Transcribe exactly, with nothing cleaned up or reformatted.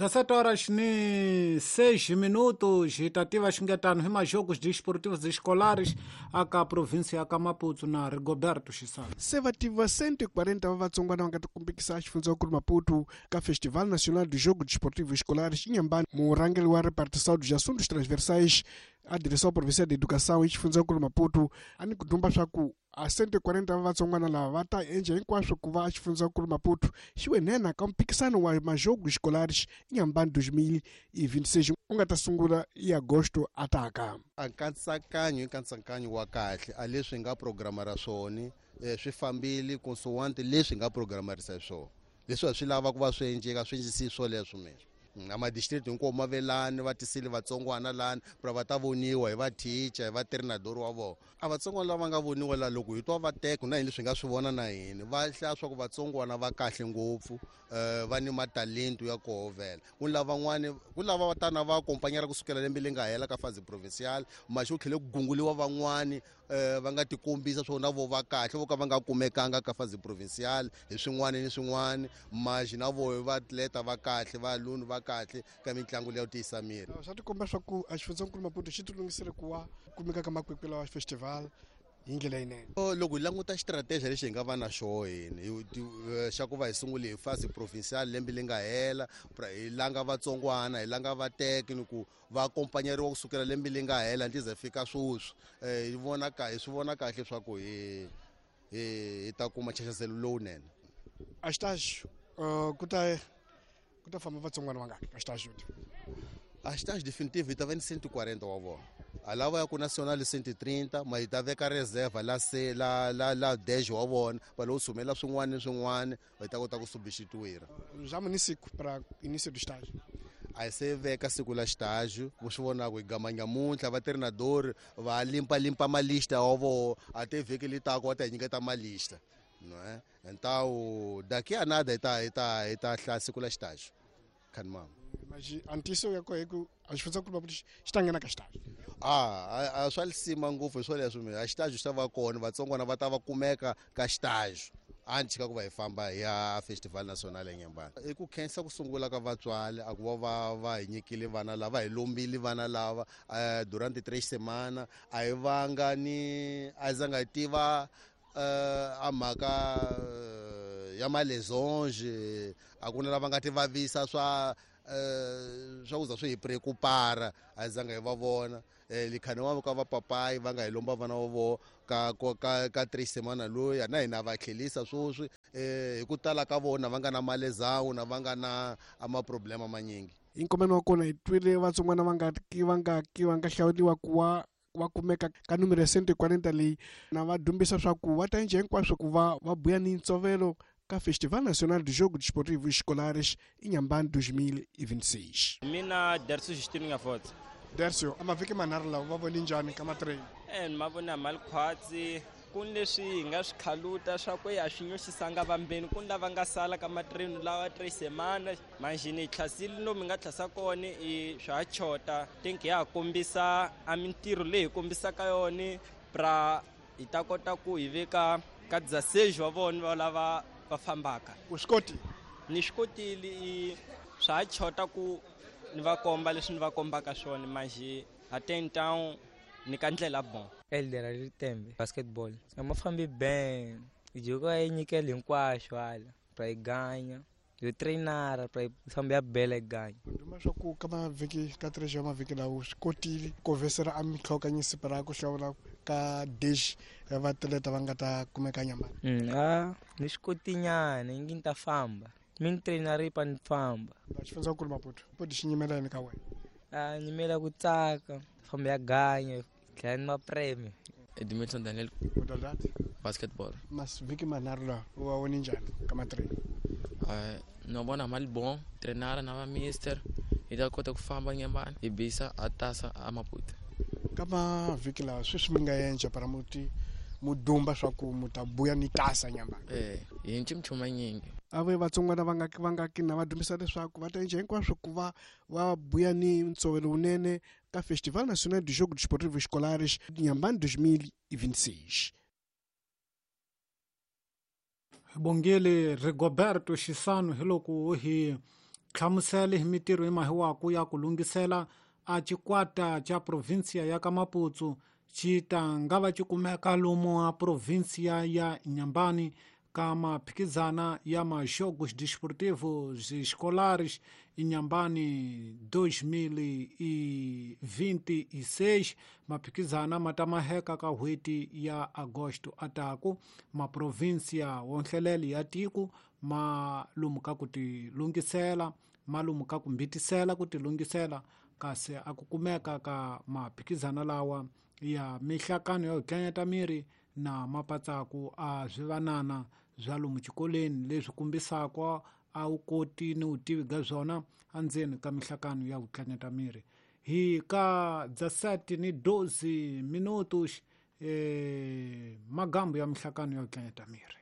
dezessete horas ni seis minutos hi ta tiva xingetano hi majogos desportivos escolares aka província ya ka Maputo na Rigoberto Xisana. Se va tiva cento e quarenta va vatsongwana va nga tikumbikisa xifundzankulu Maputo ka Festival Nacional de Jogo Desportivo Escolares Inhambane. Murhangeri wa repartição dos assuntos transversais a direção provincial de educação e xifundzankulu Maputo a ni ku dumba swa ku a cento e quarenta va vatsongwana lava va ta endla hinkwaswo ku va xifundzankulu Maputo xi wenena ka mpikisano wa majogo escolares Inhambane dois mil e vinte e seis u nga ta sungula hi agosto ataka. A nkatsakanyo i nkatsakanyo wa kahle a leswi nga programara swona swi fambile consoante leswi nga programarisa swona leswi a swi lava ku va swi endleka swi endlisi swoleswo mina a madistrict hinkwawo ma velani va tisile vatsongwana lani pra va ta voniwa hi va teacher hi va treinador wa vona a vatsongwana lava nga voniwa la loko hi twa va teka na hina leswi nga swi vona na hina va hlaya swa ku vatsongwana va kahle ngopfu va ni matalento ya koho vhela ku lavan'wani ku lava va tana va akompanyela kusukela lembe leri nga hela ka phase provincial maxi ku tlhele ku gunguliwa van'wani va nga tikombisa swona vo va kahle vo ka va nga kumekanga ka phase provincial hi swin'wana ni swin'wana maxi na vo va atleta va kahle va aluni va kahle ka mitlangu leyi tiyisa miri. Swa tikomba swa ku a xifundzankulu Maputo xi tilunghisele ku wa kumeka ka makwekwe lawa festival hi ndlela yinene. Loko hi languta xitrateji lexi hi nga va na xoho hina xa ku va hi sungule hi phase provincial lembe leri nga hela hi langa vatsongwana hi langa vateki ni ku va akompanyeriwa kusukela lembe leri nga hela ndzi ze fika sweswi hi vona hi swi vona kahle swa ku hi hi ta kuma nxaxamelo lowunene. A xitaxi ku ta ku ta famba vatsongwana vangaki ka xitaxi? A xitaxi definitive hi ta va ni cento e quarenta wa vona. A lava ya ku national cento e trinta ma hi ta veka reserve la se la la la dez wa vona va lo sumela swin'wana ni swin'wana hi ta kota ku substituir. Já município para início do estágio. A hi se veka siku la estágio ku swi vona ku hi gama nyamuntlha va treinador va limpa limpa malista wa vona a te vhiki li tako va ta hi nyiketa malista não é? Então daqui a nada hi ta hi ta hi ta hlaya siku la estágio. Khanimama. Mas antes eu ia correr com as pessoas que estão na estágio. Ah, a swa lisima ngopfu hi swoleswo mina a xitaxo xi ta va kona vatsongwana va ta va kumeka ka xitaxo antes ka ku va hi famba hi ya Festival Nacional eNyembani. I ku khensa ku sungula ka vatswari a ku va va va hi nyikile vana lava hi lombile vana lava durante três semana a hi vanga ni a zanga hi tiva a mhaka ya malesonge a ku na lava nga ti vavisa swa swa ku za swi hi preocupara a zanga hi va vona likhani wa ka va papayi va nga hi lomba vana va vona ka ka ka três semana loyi na hina va tlhelisa sweswi hi ku tala ka vona va nga na malezawu na va nga na amaproblema manyingi. Hi nkomeno wa kona hi twile vatsongwana va nga ki va nga ki va nga hlawuriwa ku wa va kumeka ka numero cento e quarenta leyi na va dumbisa swa ku va ta endla hinkwaswo ku va va buya ni ntsovelo ka Festival Nacional de Jogo Desportivo Escolares Inhambane dois mil e vinte e seis. Mina Dercio Justino Ngafotse. Dercio, a mavhiki manharhu lawa va vone njhani ka matrain? Eh ni ma vona mali khwatsi ku ni leswi hi nga swi khaluta swa ku ya swi nyoxisanga vambeni ku ni lava nga sala ka matrain lawa três semana manjhini hi tlhasile lomu hi nga tlhasa kona i swa ha chota think ya ha kombisa a mintirho leyi hi kombisaka yona pra hi ta kota ku hi veka ka dezesseis wa vona va lava va fambaka. U swi kotile? Ni swi kotile swa ha chota ku ni va komba leswi ni va kombaka swona manjhe até então ni ka ndlela bon. Elder Ritembe basketball a ma fambi ben joko yi nyikela hinkwaswo hala pra yi ganya yo trainara pra yi famba ya bela yi ganya. Nduma swa ku ka mavhiki ka três ya mavhiki lawo swi kotile ku vesera a mitlhokanyisi pra ku hlawula ka dez ya vatleta va nga ta kumeka Nyambani. Mm, a ni swi kotinyana ingi ni ta famba mi ni trainara pa ni famba. Xifundzankulu Maputo podi xi nyimela yini ka wena? A nyimela ku tsaka famba ya ganya tlhela ni mapreme. Edmilson Daniel. Modalidade? Basketball. Mas vhiki manharhu lawa u va vone njhani ka matrain? Uh, no vona mali bon trainara na va mister hi ta kota ku famba Nyembani hi bisa a tasa a Maputo. Ka mavhiki lawa sweswi mi nga endla para muti mudumba swa ku mu ta buya ni tasa Nyambani? Eh, hi nchumu manyingi. A ve vatsongwana va nga va nga ki na va dumbisa leswaku va ta endla hinkwaswo ku va va buya ni ntsovelo wunene ka Festival Nacional de Jogo Desportivo Escolares Inhambane dois mil e vinte e seis. Bongile Rigoberto Xisano hi loko hi hlamusele hi mitirho imahiwaku ya ku lunghisela a xikwata xa provinsia ya ka Maputo xi ta nga va xi kumeka lomu a provinsia ya Inhambane ka maphikizana ya ma-Jogos Desportivos Escolares Inhambane dois mil e vinte e seis. Maphikizana ma ta maheka ka n'hweti ya Agosto ataku maprovinsia wonhlelele ya tiko ma lumuka ku tilunghisela ma lumuka ku mbitisela ku tilunghisela kasi a ku kumeka ka maphikizana lawa ya mihlakano ya ku tlanyata miri na mapatsaku a swivanana bya lomu xikolweni leswi kombisaka a wu koti ni vutivi bya byona endzeni ka mihlakano ya ku tlanyata miri. Hi ka dezessete ni doze minutos eh, magambo ya mihlakano ya ku tlanyata miri.